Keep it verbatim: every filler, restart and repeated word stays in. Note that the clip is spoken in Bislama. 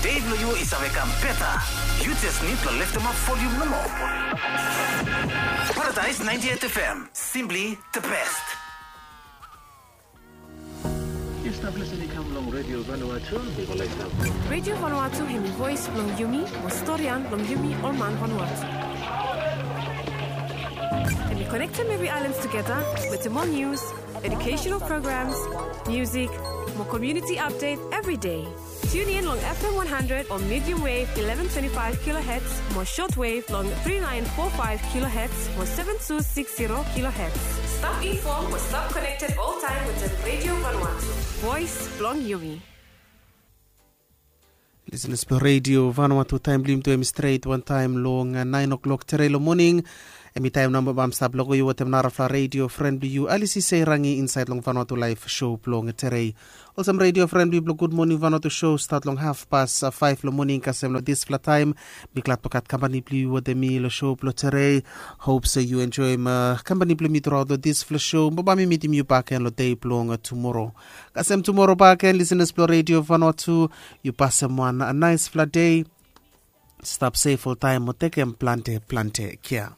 Dei blong yu i save kam beta. Yu jes nid blong leftemap volium nomo. Paradise ninety-eight F M, simply the best. Yu stap listening kam long Radio Vanuatu. Radio Vanuatu hemi voes blong yumi, mo storian blong yumi ol man Vanuatu. Hemi konektem evri aelan tugeta wetem ol nius, educational programs, music, mo community update evri dei. Tune in long F M one hundred o medium wave eleven twenty-five kilohertz, mo shortwave long three nine four five kilohertz mo seven two six zero kilohertz. Stap informed mo stap connected all time wetem Radio Vanuatu. Voes blong yumi. Listeners blong Radio Vanuatu, taem blong yumi tu hemi stret wantaem long naen o'clock terei long moning. Hemi taem nao bae mi stap loko yu wetem narafala radio fren blong yu, Alisi Seirangi, insaed long Vanuatu Laef Show blong terei. Olsem radio fren blong yu blong Gud Moning Vanuatu Show stat long hafpas faef long moning kasem long disfala taem. Mi glad blong gat kampani blong yu wetem mi long show blong terei. Hop se yu enjoem kampani blong mi truaot long disfala show. Bae mi mitim yu bakegen long dei blong tumoro. Kasem tumoro bakegen, listeners blong Radio Vanuatu, yu pasem wan naesfala dei. Stap sef oltaem mo tekem plante plante kea.